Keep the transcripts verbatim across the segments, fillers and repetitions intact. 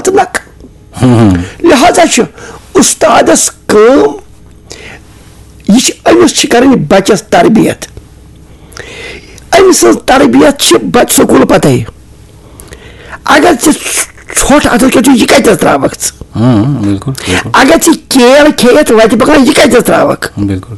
تہٕ نکھٕ۔ لہذا چھُ اُستادس کٲم، یہِ چھِ، أمِس چھِ کرٕنۍ بچس تربیت۔ أمۍ سٕنٛز تربیت چھِ بچہٕ سکوٗل پتَے۔ اگر ژےٚ ژھۄٹھ اَتھس کٮ۪تھ چھُ، یہِ کتہِ حظ ترٛاوَکھ ژٕ؟ ہاں، بِلکُل، بِلکُل۔ اگر ژےٚ کیل کھیٚیَتھ وَتہِ پَکان، یہِ کتہِ حظ ترٛاوَکھ؟ بِلکُل۔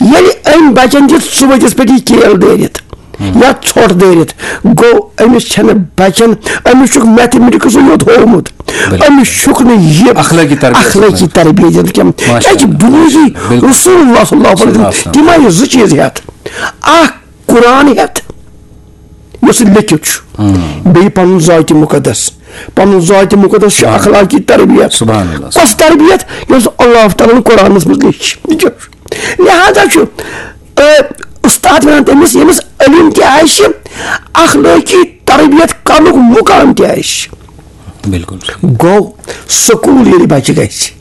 ییٚلہِ أمۍ بچن دیُت ژُ ؤتِس پٮ۪ٹھ یہِ کیل دٲرِتھ یا ژھۄٹھ دٲرِتھ، گوٚو أمِس چھَنہٕ بچن، أمِس چھُکھ میتھمیٹکسٕے یوت ہوومُت۔ بِلکُل۔ أمِس چھُکھ نہٕ یہِ اخلٲقی تربیت اخلٲقی تربیت دِنہٕ کینٛہہ۔ اچھا۔ کیٛازِ بُنیٲدی بِلکُل۔ رسول اللہ صلی اللہ علیہ وسلم، صلی اللہ علیہ وسلم۔ تِم آیہِ زٕ چیٖز ہٮ۪تھ۔ اکھ قرآن ہٮ۪تھ، یُس لیٚکھِتھ چھُ، بیٚیہِ پنُن ذاتِ مُقدس۔ پنُن ذاتِ مُقدس چھُ اخلٲقی تربیت۔ سبحان اللہ۔ کۄس تربیت؟ یۄس اللہ تعالیٰ ہن قرآنس منٛز لیٚچھ۔ لہذا چھُ، آ، اُستاد ونان تٔمِس، ییٚمِس علم تہِ آسہِ، اخلٲقی تربیت کرنُک مقام تہِ آسہِ۔ بِلکُل۔ گوٚو، سکوٗل ییٚلہِ بچہِ گژھِ،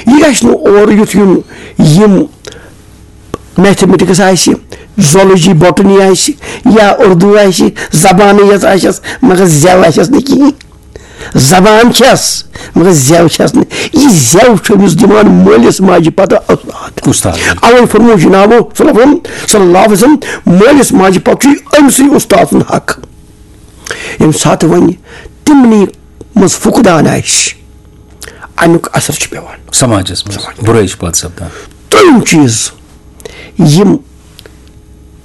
یہِ گژھِ نہٕ اورٕ یُتھ یُن، یِم میتھمیٹکس آسہِ، زولوجی، بوٹنی آسہِ، یا اردو آسہِ، زبانٕے یٲژ آسٮ۪س، مگر زٮ۪و آسٮ۪س نہٕ کِہیٖنۍ۔ زبان چھس، مگر زٮ۪و چھس نہٕ۔ یہِ زٮ۪و چھُ أمِس دِوان مٲلِس ماجہِ پتہٕ اُستاد۔ اُستاد۔ اوے فرموو جنابو صلی اللہ علیہ وسلم، صلی اللہ علیہ وسلم، مٲلِس ماجہِ پتہٕ چھُ أمۍ سٕے اُستاد سُنٛد حق۔ ییٚمہِ ساتہٕ وۄنۍ تِمنٕے منٛز فقدان آسہِ، اَمیُک اثر چھُ پٮ۪وان۔ سماجس منٛز سماجس۔ بُرٲے چھِ پٲدٕ سپدان۔ دوٚیِم چیٖز، یِم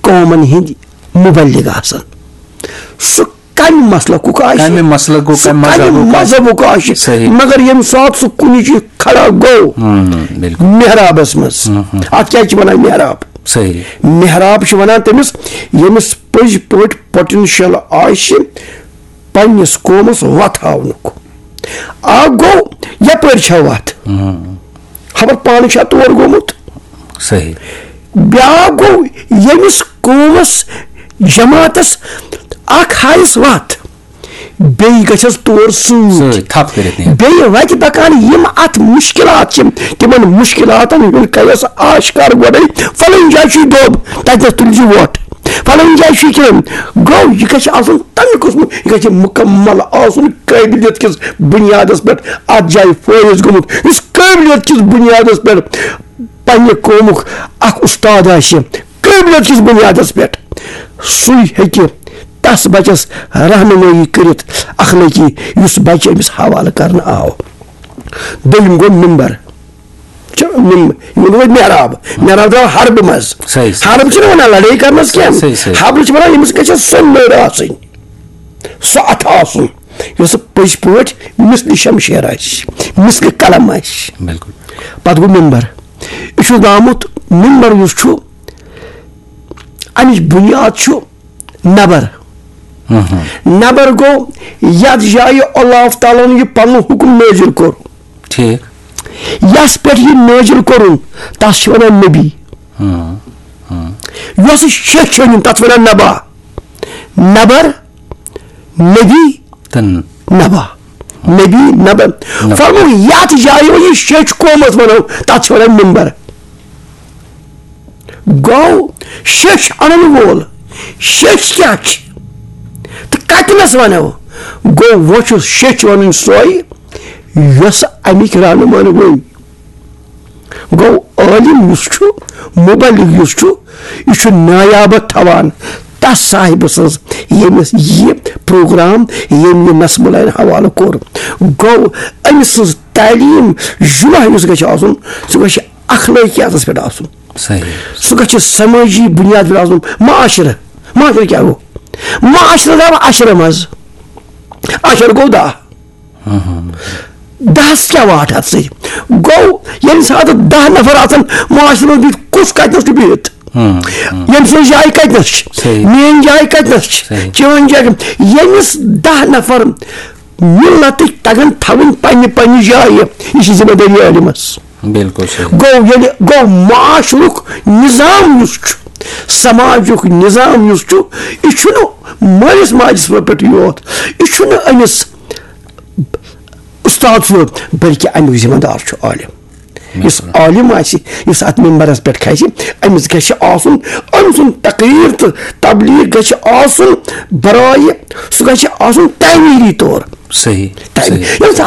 قومن ہٕنٛدۍ مُبلِغ آسان، سُہ کمہِ مسلکُک آسہِ، کمہِ مسلکُک، سُہ کمہِ کمہِ مذہبُک آسہِ۔ مذہبُک آسہِ، صحیح۔ مگر ییٚمہِ ساتہٕ سُہ کُنہِ جایہِ کھڑا گوٚو، ہم، بِلکُل۔ محرابس منٛز، ہم، ہم۔ اتھ کیٛاہ چھِ ونان؟ محراب۔ صحیح۔ محراب چھِ ونان تٔمِس، ییٚمِس پٔزۍ پٲٹھۍ پوٹینشل آسہِ پننِس قومس وتھ ہاونُک۔ اکھ گوٚو، یپٲرۍ چھا وتھ؟ ہم۔ خبر پانہٕ چھا تور گوٚمُت؟ صحیح۔ بیٛاکھ گوٚو، ییٚمِس قومس، جماعتس اکھ ہایس وتھ، بیٚیہِ گژھٮ۪س تور سۭتۍ۔ سۭتۍ تھپھ کٔرِتھ نِتھ۔ بیٚیہِ وتہِ پکان یِم اتھ مُشکلات چھِ، تِمن مُشکلاتن ہُنٛد کَرٮ۪س آشکار گۄڈَے، فلٲنۍ جایہِ چھُ یہِ دوٚب، تتٮ۪س تُلۍ زِ وۄٹھ، فلٲنۍ جایہِ چھُ یہِ کینٛہہ۔ گوٚو، یہِ گژھِ آسُن تمہِ قٕسمُک، یہِ گژھِ مُکمل آسُن قٲبلیت کِس بُنیادس پٮ۪ٹھ اتھ جایہِ فٲیض گوٚمُت، یُس قٲبلیت کِس بُنیادس پٮ۪ٹھ پننہِ قومُک اکھ اُستاد آسہِ، قٲبلیت کِس بُنیادس پٮ۪ٹھ، سُے ہیٚکہِ تس بچس رہنمٲیی کٔرِتھ اخلٲقی، یُس بچہِ أمِس حوالہٕ کرنہٕ آو۔ دوٚیِم گوٚو ممبر۔ چھُ مم-، یہِ ووٚنوٕ محراب۔ محراب درٛاو حربہٕ منٛز۔ صحیح، صحیح۔ حرب چھِنہٕ ونان لڑٲے کرنس کینٛہہ۔ صحیح، صحیح۔ حرب چھِ ونان، ییٚمِس گژھِ سۄ نٔر آسٕنۍ، سۄ اتھٕ آسُن، یۄس پٔزۍ پٲٹھۍ مثلِ شمشیر آسہِ، مثلِ قلم آسہِ۔ بِلکُل۔ پتہٕ گوٚو ممبر۔ یہِ چھُ درٛامُت، ممبر یُس چھُ، امِچ بُنیاد چھُ نبر۔ نبر گوٚو یتھ جایہِ اللہ تعالیٰ ہن یہِ پنُن حُکم نٲزِل کوٚر۔ ٹھیٖک۔ یس پٮ۪ٹھ یہِ نٲزِل کوٚرُن، تس چھِ ونان نبی۔ یۄس شیٚچھ چھِ أنِم، تتھ چھِ ونان نبا۔ نبر، نبی، تہٕ نبا۔ نبی، نبا۔ نبا۔ فرموو، یتھ جایہِ وۄنۍ یہِ شیٚچھ قومس ونو، تتھ چھِ ونان ممبر۔ گوٚو، شیٚچھ انن وول، شیٚچھ کیٛاہ چھِ تہٕ کتنس ونو؟ گوٚو، وۄنۍ چھُ شیٚچھ ونٕنۍ سۄے، یۄس امِکۍ رہنُماہن ؤنۍ۔ گوٚو، عٲلِم یُس چھُ، مُبلِغ یُس چھُ، یہِ چھُ نایابت تھاوان تس صاحبہٕ سٕنٛز، ییٚمِس یہِ پروگرام، ییٚمۍ یہِ نصب العین حوالہٕ کوٚر۔ گوٚو، أمۍ سٕنٛز تعلیٖم، جُمعہ یُس گژھِ آسُن، سُہ گژھِ اخلٲقیاتس پٮ۪ٹھ آسُن۔ صحیح۔ سُہ گژھِ سمٲجی بُنیاد پٮ۪ٹھ آسُن۔ معاشرٕ، معاشرٕ کیٛاہ گوٚو؟ معاشرٕ درٛاو عشرٕ منٛز۔ عشر گوٚو دَہ۔ دَہَس کیٛاہ واٹھ اَتھ سۭتۍ؟ گوٚو، ییٚمہِ ساتہٕ دَہ نفر آسَن معاشرَس منٛز بِہِتھ، کُس کَتِنَس چھُ بِہِتھ؟ ییٚمہِ سٕنٛز جاے کَتِنَس چھِ؟ صحیح۔ میٛٲنۍ جاے کَتِنَس چھِ؟ صحیح۔ چٲنۍ جاے کَتہِ؟ ییٚمِس دَہ نفر مِلتٕکۍ تَگَن تھاوٕنۍ پنٛنہِ پنٛنہِ جایہِ، یہِ چھِ ذمہٕ دٲری عٲلمَس۔ بِلکُل صحیح۔ گوٚو، ییٚلہِ گوٚو، معاشرُک نظام یُس چھُ، سماجُک نظام یُس چھُ، یہِ چھُنہٕ مٲلِس ماجہِ پٮ۪ٹھ یوت، یہِ چھُنہٕ أمِس اُستاد صٲب، بلکہِ اَمیُک ذمہٕ دار چھُ عٲلِم۔ یُس عٲلِم آسہِ، یُس اَتھ مِمبرَس پٮ۪ٹھ کھسہِ، أمِس گژھِ آسُن، أمۍ سُنٛد تقریر تہٕ تبلیغ گژھِ آسُن برایہِ، سُہ گژھِ آسُن تعمیٖری طور۔ صحیح، تعمیٖر۔ صحیح۔ ییٚمہِ ساتہٕ